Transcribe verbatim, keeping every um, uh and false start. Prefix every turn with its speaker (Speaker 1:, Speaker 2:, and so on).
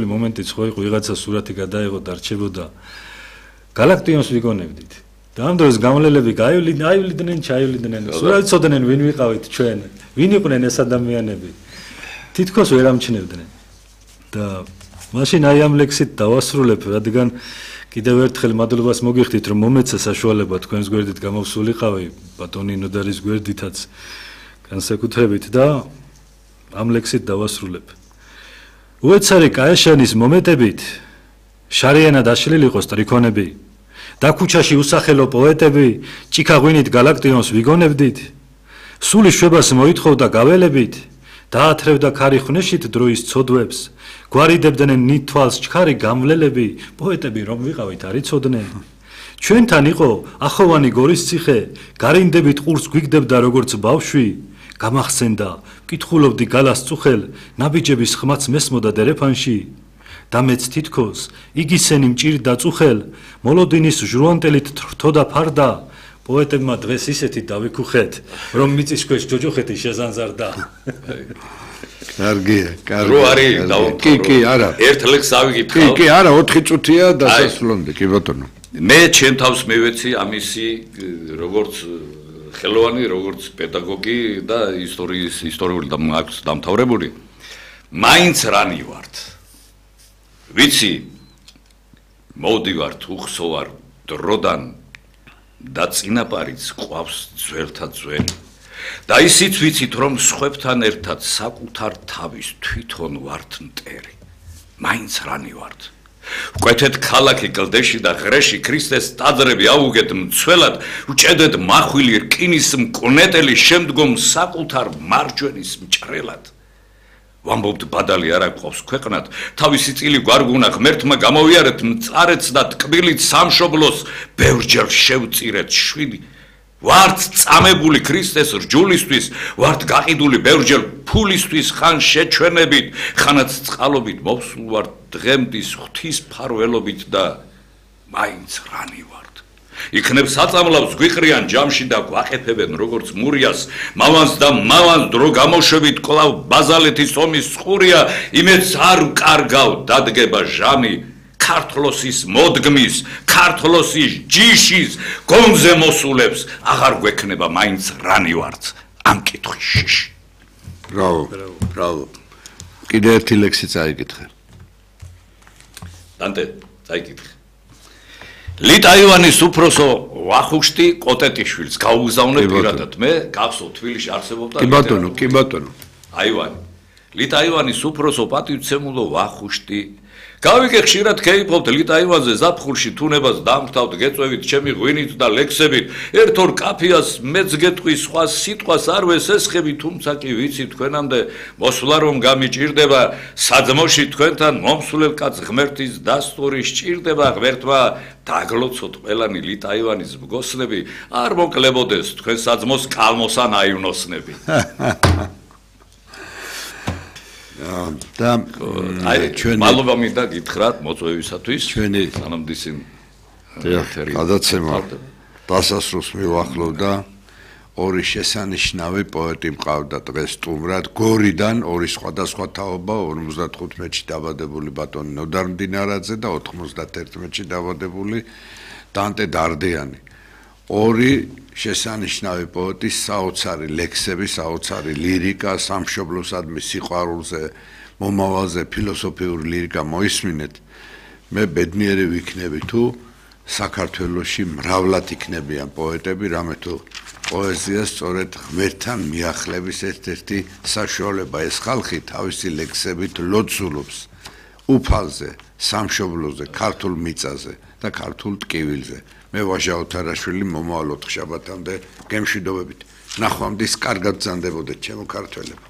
Speaker 1: მომენტიც ხო იყო ვიღაცა სურათი გადაიღო და რჩებოდა გალაქტიონს ვიგონებდით და ამ დროს გამლელები გაივლიდნენ ჩაივლიდნენ სურათი ცოდნენ ვინ ვიყავით ჩვენ ვინ იყვნენ ეს ადამიანები თითქოს ვერ ამჩნევდნენ და მაშინ აი ამ ლექსით დავასრულებ რადგან კიდევ ერთხელ მადლობას მოგიხდით რომ მომეცა საშუალება თქვენს გვერდით გამოვსულიყავი ბატონი ნოდარის გვერდითაც განსაკუთრებით და ამ ლექსით დავასრულებ უეცარი კაეშანის მომეტებით შარიანად აშლილი იყო სტრიქონები და ქუჩაში უსახელო პოეტები ჭიქაღვინით გალაქტიონს ვიგონებდით სული შვებას მოითხოვდა გაველებით დაათრევდა ქარი ხვნეშით დროის ცოდვებს გვარიდებდნენ ნითვალს ჩქარი გამვლელები პოეტები რომ ვიყავით არ იცოდნენ ჩვენთან იყო ახოვანი გორის ციხე გარინდებით ყურს გვიგდებდა როგორც ბავშვი გამახსენდა კითხულობდი გალას წუხელ ნაბიჯების ხმაც მესმოდა დერეფანში და მეც თითქოს იგისენი მჭირდა წუხელ მოლოდინის ჟრუანტელით თრთოდა ფარდა პოეტებმა დღეს ისეთი დავიქუხეთ რომ მიწის ქვეშ ჯოჯოხეთი შეზანზარდა
Speaker 2: კარგია კარგი
Speaker 3: რო არის
Speaker 2: კი კი არა
Speaker 3: ერთ ლექს ავიგებ
Speaker 2: კი კი არა ოთხი წუთია დასასრულამდე კი ბატონო
Speaker 3: მე ჩემ თავს მივეცი ამისი როგორც ხელოვანი როგორც პედაგოგი და ისტორიის ისტორიული დამთავრებული მაინც რანი ვართ ვიცი მოვდივართ უხსოვარ დროდან და წინაპარიც ყავს ძველთა ძველი და ისიც ვიცით რომ სხვებთან ერთად საკუთარ თავის თვითონ ვართ მტერი მაინც რანი ვართ ვკვეთეთ ქალაქი კლდეში და ღრეში ქრისტეს ტაძრები აუგეთ მცველად უჭედეთ მახვილი რკინის მკვნეტელი შემდგომ საკუთარ მარჯვენის მჭრელად ვამბობთ ბადალი არ აქვს ქვეყნად თავისი წილი გვარგუნა ღმერთმა გამოვიარეთ მწარეც და ტკბილით სამშობლოს ბევრჯერ შევწირეთ შვილი ვართ წამებული ქრისტეს რჯულისთვის ვართ გაყიდული ბევრჯერ ფულისთვის ხან შეჩვენებით ხანაც წყალობით მოვსულ ვართ დღემდის ღვთის ფარველობით და მაინც რანი ვართ იქნებ საწამლავს გვიყრიან ჯამში და გვაყეფებენ როგორც მურიას მავანს და მავანს დრო გამოშვებით კვლავ ბაზალეთის ომის წყურია იმედს არ ვკარგავ დადგება ჟამი ქართლოსის მოდგმის ქართლოსის ჯიშის გონზე მოსულებს აღარ გვექნება მაინც რანი ვართ ამ კითხვის შიში
Speaker 2: ბრავო ბრავო კიდე ერთი ლექსი წაიკითხე
Speaker 3: დანტე წაიკითხე ლიტაივანის უფროსო ვახუშტი კოტეტიშვილს გაუგზავნე პირადად მე გახსოვ თბილისში არსებობდა
Speaker 2: კი ბატონო კი ბატონო
Speaker 3: აივანი ლიტაივანის უფროსო პატივცემულო ვახუშტი გავიგე ხშირად ქეიფობთ ლიტაივანზე ზაფხულში თუნებას დამხტავთ გეწვევით ჩემი ღვინით და ლექსებით ერთ ორ კაფეას მეც გეტყვი სხვა სიტყვას არ ვესესხები თუმცა კი ვიცი თქვენამდე მოსვლა რომ გამიჭირდება საძმოში თქვენთან მომსვლელ კაც ღმერთის დასტური სჭირდება ღმერთმა დაგლოცოთ ყველანი ლიტაივანის მგოსნები არ მოკლებოდეს თქვენ საძმოს კალმოსან აივნოსნები
Speaker 2: და
Speaker 3: აი ჩვენ მადლობა მინდა გითხრათ მოწვევისათვის
Speaker 2: ჩვენი
Speaker 3: სანამდისინ
Speaker 2: გადაცემა დასასრულს მივახლოვდა ორი შესანიშნავი პოეტი მყავდა დღეს სტუმრად გორიდან ორი სხვადასხვა თაობა ორმოცდათხუთმეტში დაბადებული ბატონი ნოდარ მდინარაძე და ოთხმოცდაერთმეტში დაბადებული დანტე დარდიანი ორი შესანიშნავი პოეტის საოცარი ლექსები, საოცარი ლირიკა, სამშობლოსადმი სიყვარულზე, მომავალზე ფილოსოფიური ლირიკა მოისმინეთ. მე ბედნიერი ვიქნები თუ საქართველოში მრავლად იქნებიან პოეტები, რამე თუ პოეზია სწორედ ღმერთთან მიახლების ერთ-ერთი საშუალება ეს ხალხი თავისი ლექსებით ლოცულობს უფალზე, სამშობლოზე, ქართულ მიწაზე და ქართულ ტკივილზე. მე ვაჟა ოთარაშვილი მომავალ ოთხშაბათამდე გემშვიდობებით. ნახვამდის კარგად ბრძანდებოდეთ ჩემო ქართველებო.